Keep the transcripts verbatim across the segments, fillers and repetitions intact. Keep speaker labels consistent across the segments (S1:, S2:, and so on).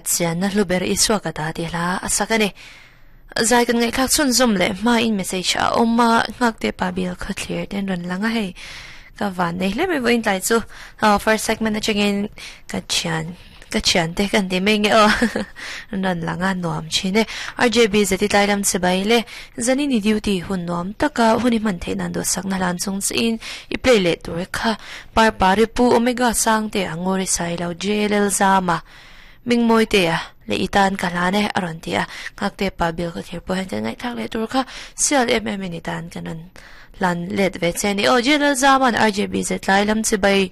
S1: Chian na hluber Isua ka ta ti hla a sak ani. Zai kan ngai thlak chhun zawm leh hma in message a awm a, nghak te pa bil khaw thlir ten rawn lang a hei. Ka van nei hle mai vawiin tlai chu first segment atangin ka thian ka thian te kan ti mai nge aw rawn lang a nuam thin e. R J B zeti tlai lam che bai le zanin i duty hun nuam taka hun i hman theih nan duhsak na hlan chung chiin i play leh tur kha par pari pu omega sang te a ngawri sai lo J L L zama ming mawi te a le i tan ka hlan e a rawn ti a nghak te pa bil ka thir pawh hian kan ngaihthlak leh tur kha sial em em in i tan kan rawn hlan let ve che ani aw J L L zaman R J B Z tlai lam chi bai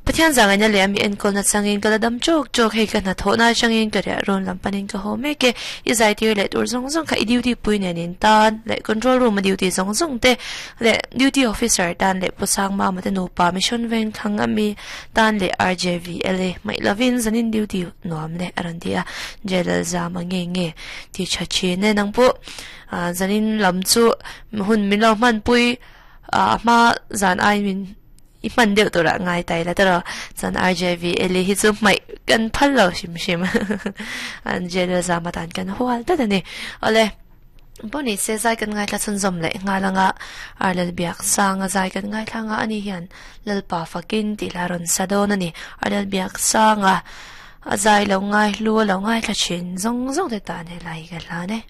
S1: Pathian zangaina leh ami enkawl na changin ka la dam chawk chawk hei ka hnathawh na atangin ka riah rawn lam panin ka haw mek e i zai tir leh tur zawng zawng kha i duty pui nen in tan leh control room a duty zawng zawng te leh duty officer tan leh pu sang mama te nupa mission veng thlang ami tan leh R J V L A hmaih lovin zanin duty nuam leh a rawn ti a Jalal zama nge nge ti tha thin e nang pawh ah zanin lam chu hun min lo hmanpui ah a hma zan ai min i hman deuh turah ngai tai la tawrh chuan R J V L hi chu hmaih kan phal lo hrim hrim an Jalal zama tan kan hual tlat a ni awle pawh ni se zai kan ngaithla chhunzawm leh nghal anga ar lal biak sanga zai kan ngaithla anga ani hian lalpa fakin tih la rawn sa dawn a ni ar lal biak sanga a zai lo ngai hlu a lo ngaithla thin zawng zawng te tan helai hi ka hlan e.